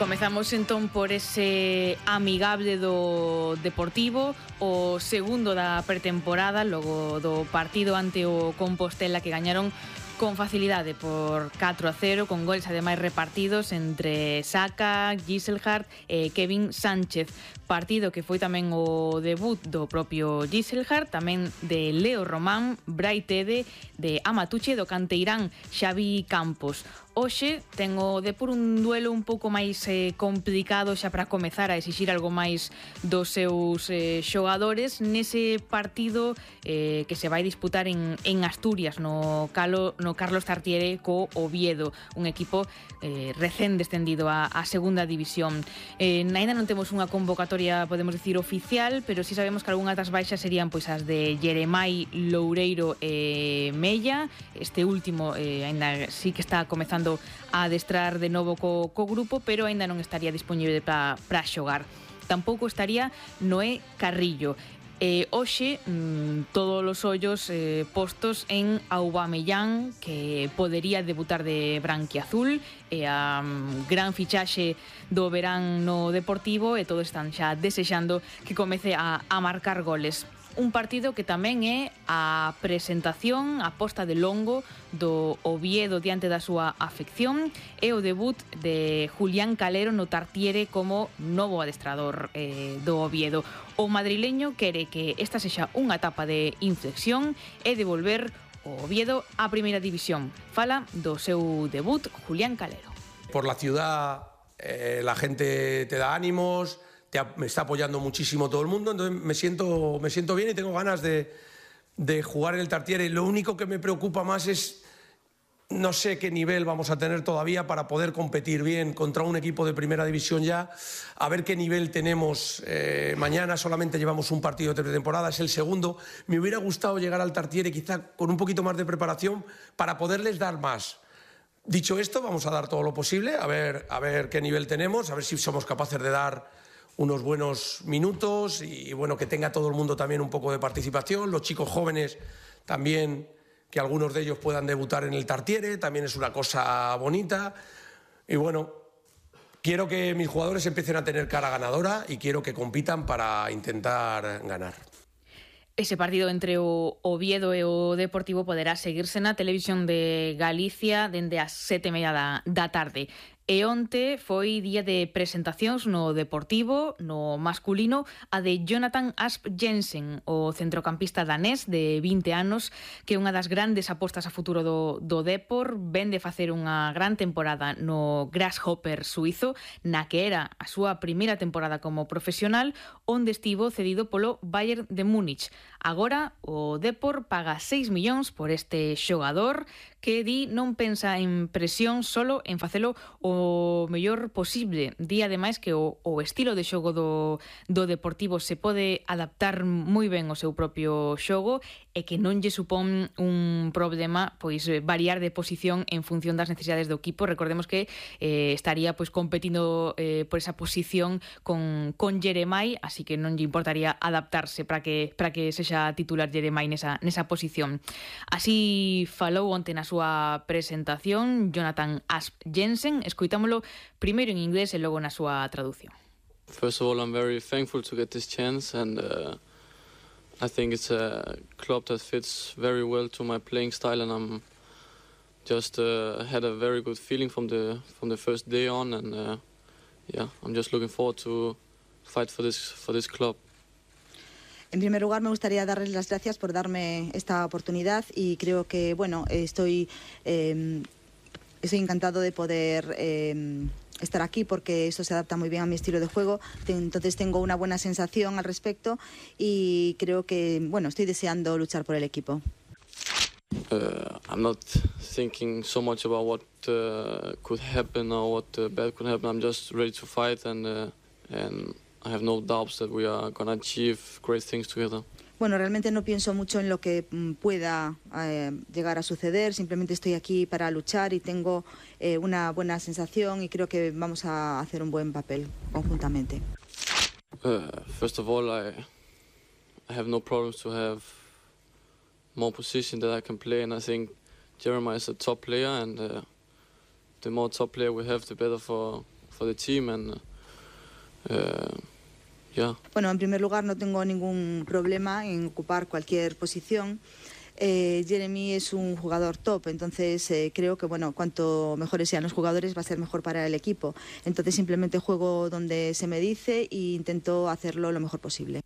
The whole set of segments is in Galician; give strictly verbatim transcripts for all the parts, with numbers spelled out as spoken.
Comezamos entón por ese amigable do Deportivo, o segundo da pretemporada, logo do partido ante o Compostela que gañaron con facilidade por catro a cero, con goles ademais repartidos entre Saka, Gisselhard e Kevin Sánchez. Partido que foi tamén o debut do propio Gisselhard, tamén de Leo Román, Brai Tede, de Amatuche, do canteirán Xavi Campos. Hoxe ten o Depor un duelo un pouco máis eh, complicado xa para comezar a exixir algo máis dos seus eh, xogadores nese partido eh, que se vai disputar en, en Asturias, no, Calo, no Carlos Tartiere co Oviedo, un equipo eh, recén descendido a, a segunda división. Eh, ainda non temos unha convocatoria, podemos dicir, oficial, pero si sabemos que algunhas das baixas serían pois as de Jeremai, Loureiro e Mella. Este último eh, ainda sí que está comezando a adestrar de novo co, co grupo, pero aínda non estaría disponible para xogar. Tampouco estaría Noé Carrillo. Eh, hoxe, mmm, todos os ollos eh, postos en Aubameyang, que podería debutar de branquiazul, e a um, gran fichaxe do verán no Deportivo, e todos están xa desexando que comece a, a marcar goles. Un partido que tamén é a presentación, a posta de longo do Oviedo diante da súa afección, e o debut de Julián Calero no Tartiere como novo adestrador eh, do Oviedo. O madrileño quere que esta sexa unha etapa de inflexión e devolver o Oviedo á primeira división. Fala do seu debut Julián Calero. Por la ciudad eh, la gente te da ánimos, te, me está apoyando muchísimo todo el mundo, entonces me siento, me siento bien y tengo ganas de, de jugar en el Tartiere. Lo único que me preocupa más es, no sé qué nivel vamos a tener todavía para poder competir bien contra un equipo de primera división ya, a ver qué nivel tenemos. Eh, mañana solamente llevamos un partido de pretemporada, es el segundo. Me hubiera gustado llegar al Tartiere quizá con un poquito más de preparación para poderles dar más. Dicho esto, vamos a dar todo lo posible, a ver, a ver qué nivel tenemos, a ver si somos capaces de dar unos buenos minutos y bueno, que tenga todo el mundo también un poco de participación, los chicos jóvenes también, que algunos de ellos puedan debutar en el Tartiere, también es una cosa bonita. Y bueno, quiero que mis jugadores empiecen a tener cara ganadora y quiero que compitan para intentar ganar. Ese partido entre o Oviedo e o Deportivo poderá seguirse na televisión de Galicia dende as sete e media da, da tarde. E onte foi día de presentacións no Deportivo, no masculino, a de Jonathan Asp Jensen, o centrocampista danés de vinte anos, que é unha das grandes apostas a futuro do, do Depor, ven de facer unha gran temporada no Grasshopper suizo, na que era a súa primeira temporada como profesional, onde estivo cedido polo Bayern de Múnich. Agora, o Depor paga seis millóns por este xogador, que di non pensa en presión, solo en facelo o mellor posible. Di ademais que o, o estilo de xogo do, do Deportivo se pode adaptar moi ben ao seu propio xogo e que non lle supón un problema pois variar de posición en función das necesidades do equipo. Recordemos que eh, estaría pois competindo eh, por esa posición con, con Jeremai, así que non lle importaría adaptarse para que, para que sexa titular Jeremai nesa, nesa posición. Así falou onte na súa presentación Jonathan Asp Jensen. Escoitámolo primeiro en inglés e logo na súa traducción. First of all, I'm very thankful to get this chance, and uh, I think it's a club that fits very well to my playing style, and I'm just uh, had a very good feeling from the from the first day on, and uh, yeah, I'm just looking forward to fight for this for this club. En primer lugar, me gustaría darles las gracias por darme esta oportunidad y creo que, bueno, estoy, eh, estoy encantado de poder eh, estar aquí porque esto se adapta muy bien a mi estilo de juego. Entonces tengo una buena sensación al respecto y creo que, bueno, estoy deseando luchar por el equipo. Uh, I'm not thinking so much about what uh, could happen or what uh, bad could happen. I'm just ready to fight and uh, and. I have no doubts that we are going to achieve great things together. Bueno, realmente no pienso mucho en lo que pueda eh, llegar a suceder, simplemente estoy aquí para luchar y tengo eh, una buena sensación y creo que vamos a hacer un buen papel conjuntamente. Uh, first of all, I, I have no problems to have more position that I can play, and I think Jeremiah is a top player, and uh, the more top player we have, the better for for the team, and uh, yeah. Bueno, en primer lugar no tengo ningún problema en ocupar cualquier posición. Eh, Jeremy es un jugador top, entonces eh, creo que bueno, cuanto mejores sean los jugadores va a ser mejor para el equipo. Entonces simplemente juego donde se me dice e intento hacerlo lo mejor posible.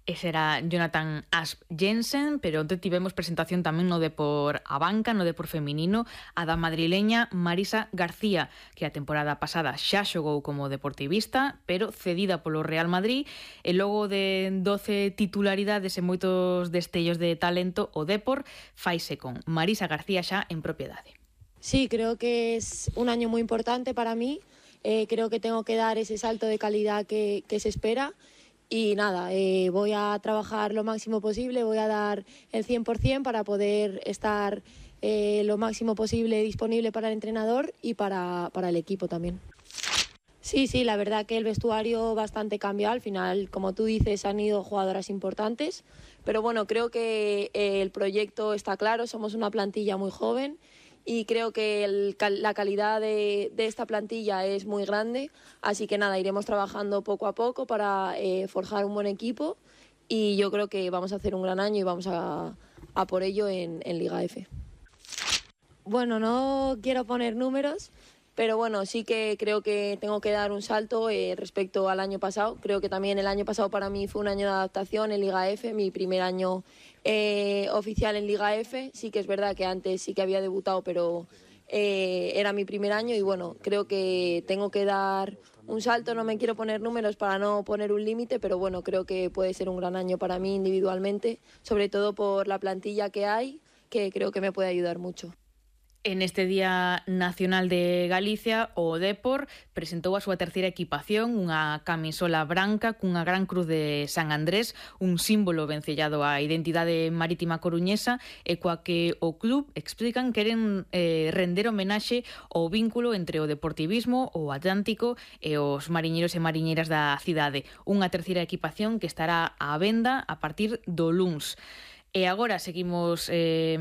Ese era Jonathan Asp Jensen, pero onte tivemos presentación tamén no Depor a banca, no Depor feminino, a da madrileña Marisa García, que a temporada pasada xa xogou como deportivista, pero cedida polo Real Madrid, e logo de doce titularidades e moitos destellos de talento, o Depor faise con Marisa García xa en propiedade. Sí, creo que es un año muy importante para mí, eh, creo que tengo que dar ese salto de calidad que, que se espera. Y nada, eh, voy a trabajar lo máximo posible, voy a dar el cien por ciento para poder estar eh, lo máximo posible disponible para el entrenador y para, para el equipo también. Sí, sí, la verdad que el vestuario bastante cambió. Al final, como tú dices, han ido jugadoras importantes. Pero bueno, creo que eh, el proyecto está claro, somos una plantilla muy joven. Y creo que el, la calidad de, de esta plantilla es muy grande, así que nada, iremos trabajando poco a poco para eh, forjar un buen equipo y yo creo que vamos a hacer un gran año y vamos a, a por ello en, en Liga F. Bueno, no quiero poner números, pero bueno, sí que creo que tengo que dar un salto eh, respecto al año pasado. Creo que también el año pasado para mí fue un año de adaptación en Liga F, mi primer año Eh, oficial en Liga F. Sí que es verdad que antes sí que había debutado, pero eh, era mi primer año y bueno, creo que tengo que dar un salto. No me quiero poner números para no poner un límite, pero bueno, creo que puede ser un gran año para mí individualmente, sobre todo por la plantilla que hay, que creo que me puede ayudar mucho. En este Día Nacional de Galicia, o Depor presentou a súa terceira equipación, unha camisola branca cunha gran cruz de San Andrés, un símbolo vencellado á identidade marítima coruñesa e coa que o club explican queren eh, render homenaxe ao vínculo entre o deportivismo, o Atlántico e os mariñeiros e mariñeiras da cidade. Unha terceira equipación que estará á venda a partir do luns. E agora seguimos eh,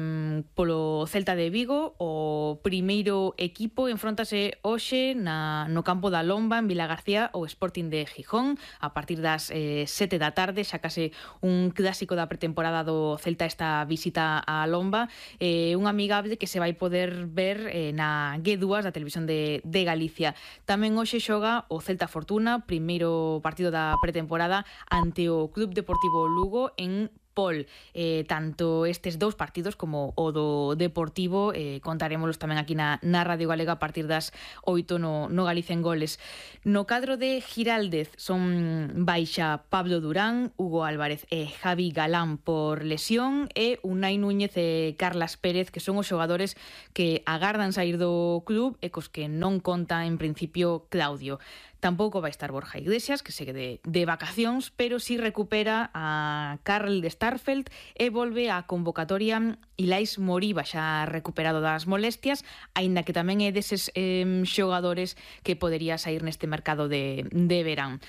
polo Celta de Vigo. O primeiro equipo enfróntase hoxe na, no campo da Lomba, en Vilagarcía, o Sporting de Gijón, a partir das eh, sete da tarde, xa case un clásico da pretemporada do Celta esta visita á Lomba, eh, un amigable que se vai poder ver eh, na G dúas da televisión de, de Galicia. Tamén hoxe xoga o Celta Fortuna, primeiro partido da pretemporada ante o Club Deportivo Lugo en Pol. Eh, tanto estes dous partidos como o do Deportivo eh, contarémolos tamén aquí na, na Radio Galega a partir das oito no, no Galicia en Goles. No cadro de Giraldez son baixa Pablo Durán, Hugo Álvarez e Javi Galán por lesión e Unai Núñez e Carlas Pérez, que son os xogadores que agardan sair do club e cos que non conta en principio Claudio. Tampouco vai estar Borja Iglesias, que segue de, de vacacións, pero sí recupera a Karl de Starfelt e volve á convocatoria Ilais Moriba, xa recuperado das molestias, aínda que tamén é deses eh, xogadores que podería sair neste mercado de, de verán.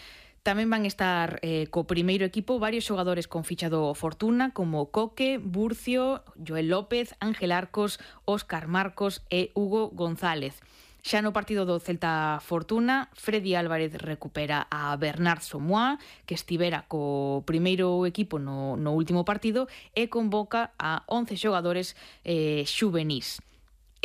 Tamén van estar eh, co primeiro equipo varios xogadores con ficha do Fortuna, como Coque, Burcio, Joel López, Ángel Arcos, Óscar Marcos e Hugo González. Xa no partido do Celta Fortuna, Freddy Álvarez recupera a Bernard Somoa, que estivera co primeiro equipo no, no último partido, e convoca a once xogadores eh, xuvenís.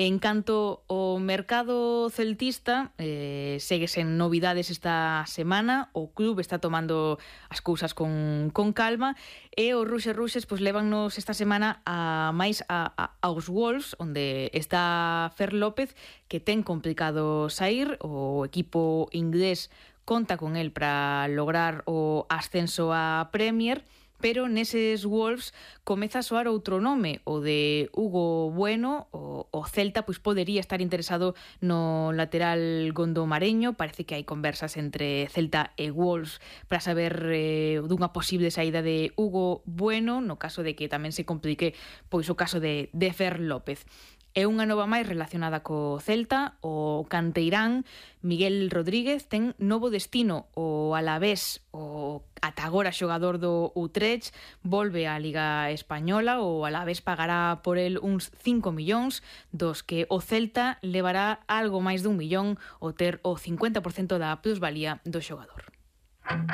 En canto ao mercado celtista, eh, segue sen novidades esta semana. O club está tomando as cousas con, con calma e os Ruxes Ruxes pois, levannos esta semana a máis a, a, aos Wolves, onde está Fer López, que ten complicado sair. O equipo inglés conta con el para lograr o ascenso á Premier, pero neses Wolves comeza a soar outro nome, o de Hugo Bueno. O, o Celta pois podería estar interesado no lateral gondomareño. Parece que hai conversas entre Celta e Wolves para saber eh, dunha posible saída de Hugo Bueno, no caso de que tamén se complique pois o caso de, de Fer López. E unha nova máis relacionada co Celta, o canteirán Miguel Rodríguez ten novo destino. O Alavés, o ata agora xogador do Utrecht, volve á Liga Española. O Alavés pagará por el uns cinco millóns, dos que o Celta levará algo máis dun millón ao ter o cincuenta por cento da plusvalía do xogador.